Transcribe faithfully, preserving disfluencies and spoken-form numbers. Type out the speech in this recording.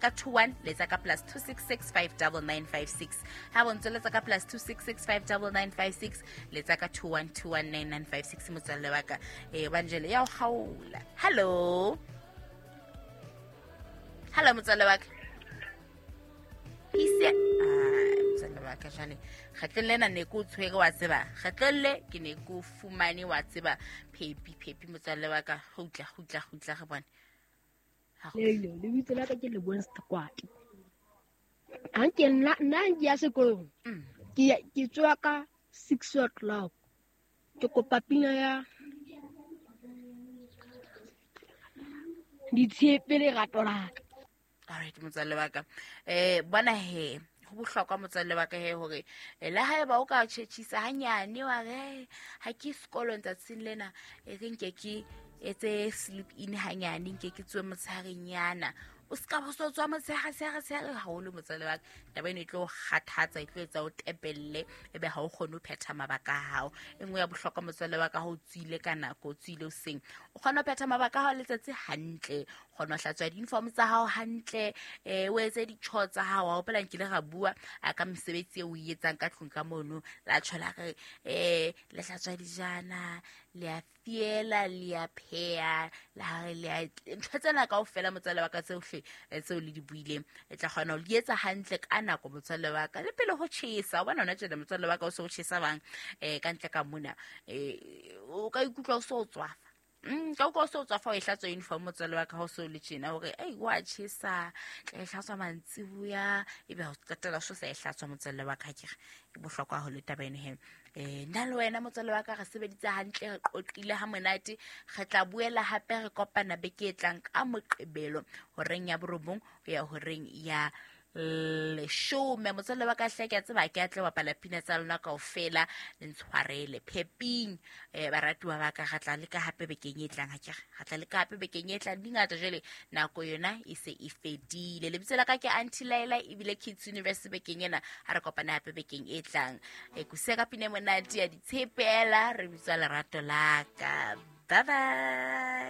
Ka two one letsa ka plus two six six five double nine five six. Ha bo ntse letsa ka plus two six six five double nine five six, letsa ka two one two one nine nine five six motswalle wa ka. Eh banjele ya o kgaola. Hello. Hello motswalle wa ka. Ise ah motswalle wa ka jwale. Kgetlong lena ne ke o tshwere wa tseba. Kgetlong le ke ne ke o fumane wa tseba. Phepi phepi motswalle wa ka. Kgutla kgutla kgutla re bone. Lelo, lebitso la ka ke Lebohang Sekwati. Ha ke nna nna ke ya sekolong. Ke ke tswa ka six o'clock. Ke kopa pina ya Ditshepe lerato la ka. All right motswalle wa ka. Eh bona he ho bohlokwa motswalle wa ka he hore le haeba o ka tjhetjhisa hanyane wa re ha ke sekolong tsatsing lena e re nke ke etse sleep in hanyane nke ke tswe motsharenyana. O ska bo so tswa motshehare tshehare tshehare haholo motswalle wa ka. Taba eno e tlo kgathatsa, e tlo etsa o tepelle ebe ha o kgone ho phetha mabaka a hao. E nngwe ya bohlokwa motswalle wa ka, ha o tswile ka nako, o tswile hoseng, o kgona ho phetha mabaka a hao letsatsi hantle, o kgona ho hlatswa di-uniform tsa hao hantle, eh o etse di-chore tsa hao. Wa hopola nkile ra bua a ka mesebetsi eo o e etsang ka tlung ka mono, la tjhola re eh le hlatswa dijana, le a fiela, le a pheha, la re le a ntho tsena kaofela motswalle wa ka tsohle tseo le di buileng, e tla kgona ho di etsa hantle ka nako motswalle wa ka. Le pele ho tjhesa, o bona hona tjena motswalle wa ka o se o tjhesa bang eh ka ntle ka mona, eh o ka ikutlwa o so tswafa. Mm ka utlwa o so tswafa o e hlatswa uniform motswalle wa ka ha o so le tjena hore ei wa tjhesa, tla e hlatswa mantsiboya, ebe ha o qetella o so sa e hlatswa motswalle wa ka. Ke re e bohlokwa haholo taba eno he. Eh nna le wena motswalle wa ka re sebeditse hantle, re qoqile ha monate. Re tla boela hape re kopana beke e tlang ka Moqebelo horeng ya borobong ho ya horeng ya leshome. Motswalle wa ka hle ke a tseba ke a tle bapala pina tsa lona kaofela, le ntshwarele pheping eh baratuwa ba ka. Re tla leka hape bekeng e tlang, ha ke re re tla leka hape bekeng e tlang. Di ngata jwale, nako yona e se e fedile. Lebitso la ka ke Aunty Laila, ebile Kids Universe bekeng ena. Ha re kopane hape bekeng e tlang. E kuse ka pina e monate ya Ditshepela, re bitsa lerato la ka. Bye bye.